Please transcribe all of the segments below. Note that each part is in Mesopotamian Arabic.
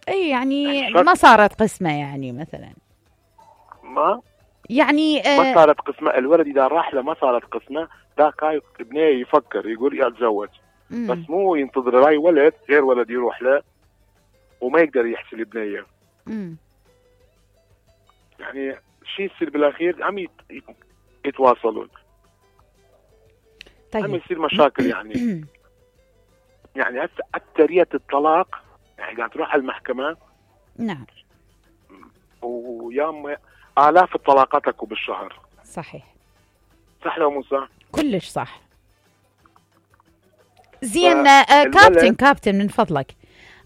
اي يعني الشرط ما صارت قسمة يعني مثلا. ما يعني ما صارت قسمة. الولد اذا راح له ما صارت قسمة، ذاك هاي ابنيه يفكر يقول يا اتزوج، بس مو ينتظر هاي ولد غير ولد يروح له وما يقدر يحسن البنيه. يعني شيء يصير بالاخير عم يتواصلون، طيب. عم يصير مشاكل يعني. يعني هسه اكثريه الطلاق يعني قاعد تروح على المحكمه. نعم. وياما آلاف الطلاقات اكو بالشهر. صحيح. صح لو مو صح؟ كلش صح. زين كابتن من فضلك،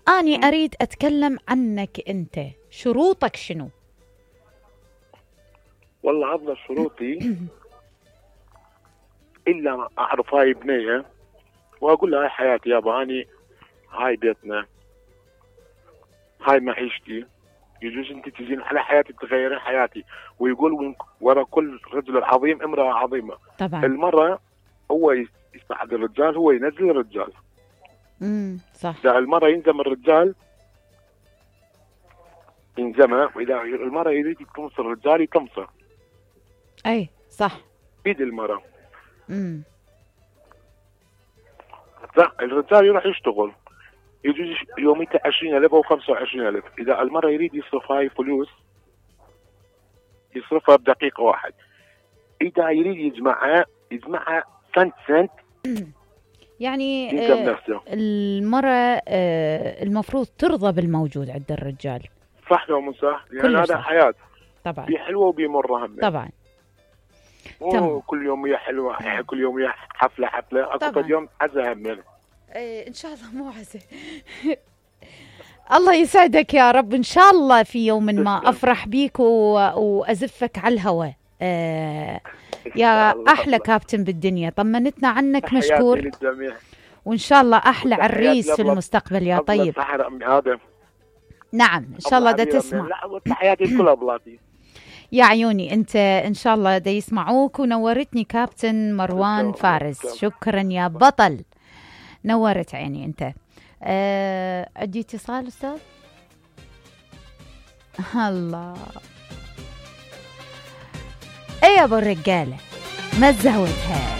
أنا أريد أتكلم عنك أنت، شروطك شنو؟ والله أفضل شروطي إلا أعرف هاي بنية وأقول لها هاي حياتي يابا، أني هاي بيتنا، هاي معيشتي، يجوز أنت تجين على حياتي تغيرين حياتي. ويقول ورا كل رجل عظيم امرأة عظيمة. طبعا. المرة هو يساعد الرجال، هو ينزل الرجال. صح. إذا المرة ينزم الرجال ينزمه، وإذا المرة يريد تمصر الرجال يتمصر. أي صح. بيد المرة. الرجال يروح يشتغل، يجوز يوميته 20,000 أو 25,000. إذا المرة يريد يصرف هاي فلوس يصرفها بدقيقة واحد. إذا يريد يجمعها سنت يعني نفسه. المرة المفروض ترضى بالموجود عند الرجال. صح لو مو صح؟ يعني هذا حياة طبعا، بي حلوة وبيمرها هم طبعا. مو كل يوم هي حلوة، كل يوم هي حفلة أكو يوم عزة هم. إن شاء الله مو عزة. الله يسعدك يا رب، إن شاء الله في يوم ما أفرح بيك وأزفك على الهواء. يا أحلى كابتن بالدنيا، طمنتنا عنك، مشكور. وإن شاء الله أحلى عريس في المستقبل يا طيب. نعم إن شاء الله دا تسمع. تحياتي كلها بلاتي يا عيوني أنت، إن شاء الله دا يسمعوك. ونورتني كابتن مروان فارس، شكرا يا بطل، نورت عيني أنت. عندي اتصال أستاذ. الله. ايه يا ابو الرجاله، ما تزودها.